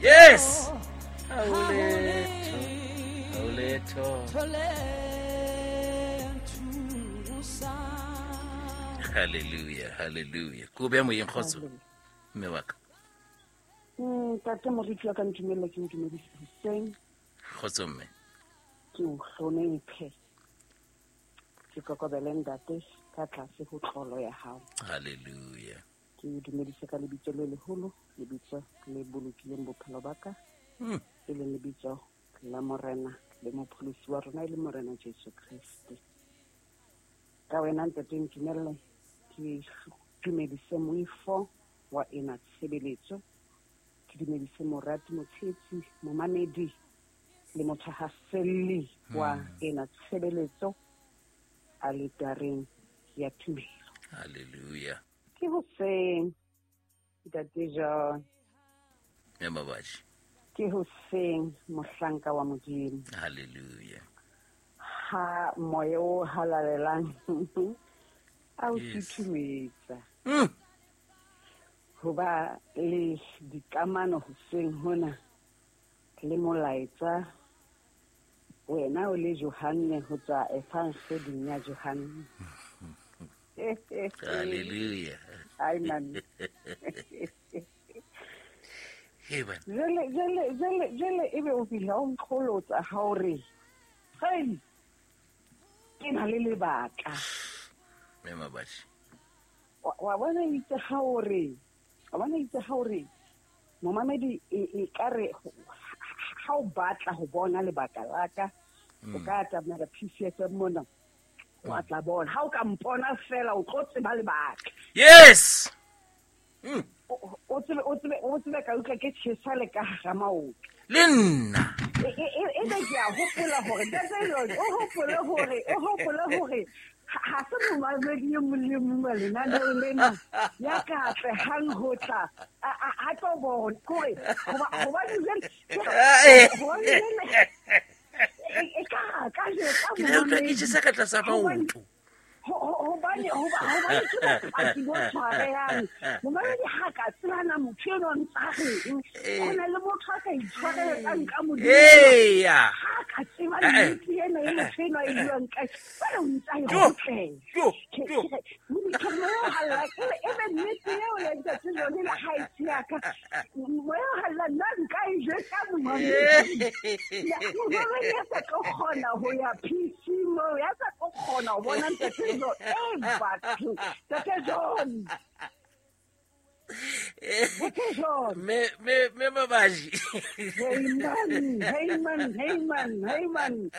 Yes, ha ho letho, ha ho letho. Halleluja, halleluja. Ko beya moyeng, kgotso mme wa ka. Ntate moriti wa ka, ntumelle ke ntumedise hoseng. Kgotso mme. Ke o hlonephe, ke kokobele ntate ka tlase ho tlolo ya hao. Halleluja. Ke o dumedise ka lebitso le leholo, lebitso le bolokileng bophelo ba ka, e leng lebitso la Morena le Mopholosi wa rona, e le Morena Jesu Kreste. Ka wena ntate ntumelle ke dumedise moifo wa ena tshebeletso, ke dumedise morati, motshetsi, momamedi le mothahaselli wa ena tshebeletso aletareng ya tumelo. Halleluja. Ke hoseng ntate John. Mme Mabaji. Ke hoseng mohlanka wa Modimo. Halleluja. Ha moya o halalelang a o futhumetsa. Hoba le dikamano hoseng hona le molaetsa wena o le Johanne ho tswa Evangeding ya Johanne. Halleluja. Amen. Hey bana. Jele jele jele jele ebe o fihla o nqholotsa ha o re hey, ke na le lebaka. Mme Mabaji. Wa bona itse ha o re, wa bona itse ha o re momamedi e ka re ha o batla ho bona lebaka la ka, o ka atamela PCFM mona, wa tla bona. Ha o ka mpona fela o tlo tseba lebaka. Yes. O tsebe, o tsebe, o tsebe ka utlwa ke tjhesa le ka hara maoto. Le nna. E be ke a hopola hore ntate Lord, o hopole hore, o hopole hore ha se momamedi e mong le mong wa lenaneo lena ya ka atlehang ho tla a tlo bona. Kore, hobane jwale, hobane jwale, e ka ka jwetsa Ke la utlwa ke tjhesa ka tlasa maoto. Hobane, hobane ke bopaki bo tshwarehang. Momamedi ha ka tsebana motho enwa ntsa reng, ho na le motho a ka itshwareletsang ka Modimo. Eya. Ha ka tseba nnete ena e motho enwa e buang ka, jwale o ntsa e kgutlela. Ke re, ke re, moya o halalelang, e be nnete eo ya ntate John le ha e se ya ka. Moya o halalelang, nna nka e jwetsa momamedi. Momamedi ya sa tlo kgona ho ya PC moo, ya sa tlo kgona ho bona ntate John. Batho, ntate John. Ntate John. Me, me, me Mabaji. Hey man, hey man, hey man, hey man.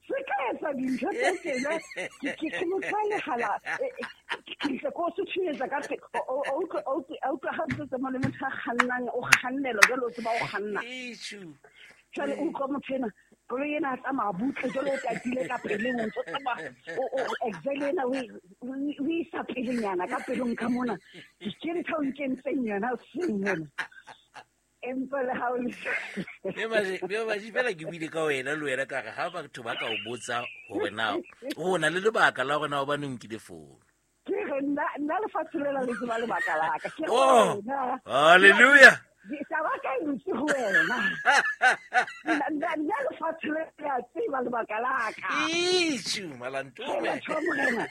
Se ka etsa dintho tse tjena, ke motho a lehala, ke tle ko suthunyetsa ka te-, o, o, o utlwe, o utlwe, o utlwe ha ntse tsamaya le motho a kgannang, o kgannelwa jwalo, o tseba o kganna. Issue. Jwale o utlwa motho ena, koloi ena a tsamaya butle, jwale o tatile ka peleng, o ntso tsamaya, o Excel ena o o isa pelenyana ka pelong ka mona. Ke ntho o nkentseng yona hoseng mona. Empa le ha o le Mme Mabaji, mme Mabaji, fela ke buile ka wena le wena ka re ha batho ba ka o botsa hore na o na le lebaka la hore na hobane o nkile founu. Ke re nna lefatshe lela le tseba lebaka la ka. Ke re Oh, wena. hallelujah. Taba ka e ntse ho wena. Nna lefatshe le a tseba lebaka la ka. Itjhu, malantume. Ke batho ba Morena.